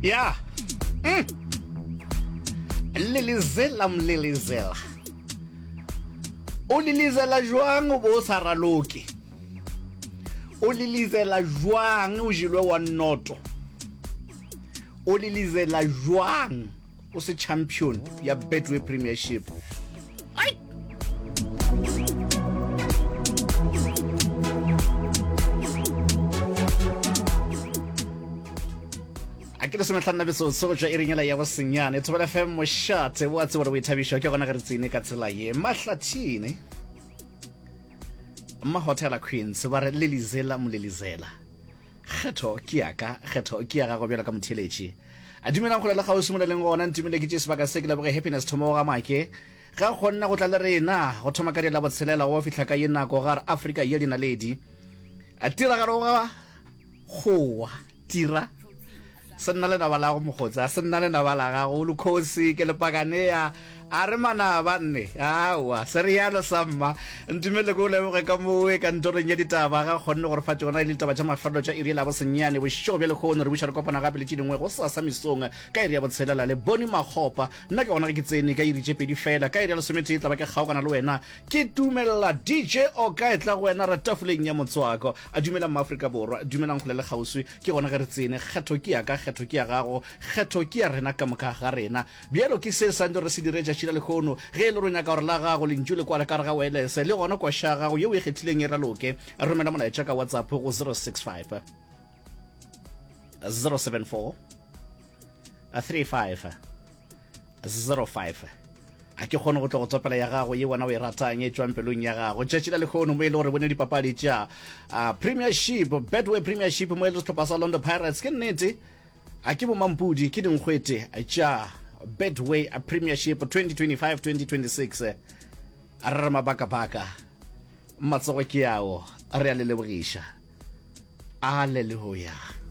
Ya. Mm. Lelezela mlelezela. O lelezela jwang o bo o sa raloke? O lelezela jwang o jelwe wa noto? O lelezela jwang o se champion ya Betway Premiership? Ai! A ke lesometlhanna metsotso go tšwa iring yela ya bosenyane. Thobela FM mošate o a tseba gore boithabišo ke gona ge re tsene ka tsela ye. Mahlathini. Mahotela Queens ba re lelizela molelizela. Kgetho ke ya ka, kgetho ke ya gago bjalo ka motheeletši. A dumelang kgole le kgauswi mo le leng gona, ntumele ke tšee sebaka se ke leboge Happiness Thomo wa ga Make ge a kgonne go tla le rena go thoma ka di la botshelela go fihla ka ye nako gare Afrika ye dinaledi. A tiragalo ga gowa tira Se nna lenaba la go mokgotsi, a se nna lenaba la gago, Lukhosi, ke lepakanea, a re manaba nne, aowa, se realo sa mma. Ntumelele ke o leboge ka mowe kantorong ya ditaba, ga kgonne go re fa tšona e le ditaba tša mafelelo tša iri ya bosenyane bošego bja lehono. Re buša re kopana gape le tše dingwe gosasa mesong ka iri ya botshelela le Bonnie Makgopa. Nna ke gona ge ke tsene ka iri tše pedi fela, ka iri ya lesometee tla ba ke kgaogana le wena, ke dumelela DJ Oka e tla go wena ra tafoleng ya motswako. A dumelang Maafrika Borwa, dumelang kgole le kgauswi. Ke gona ge re tsene, kgetho ke ya ka, kgetho ke ya gago, kgetho ke ya rena ka moka ga rena. Bjalo ke se santse re se dire tšatši la lehono. Ge e le gore o nyaka gore la gago lentšu le kwale ka gare ga waelese, le gona koša ya gago ye o e kgethileng e raloke, romela molaetša ka WhatsApp go 065 074 35 05. A ke kgone go tlo go tsopela ya gago ye wena o e ratang e tšwang pelong ya gago. Tšatši la lehono mo e le gore bone dipapadi tša uh, Premiership, Betway Premiership mo e le sehlopha sa Orlando Pirates. Ke nnete, a ke bomampudi, ke dinkgwete tša Betway Premiership 2025-2026. A re re mabakabaka, matsogo ke ao, re a le lebogiša. Aleluya.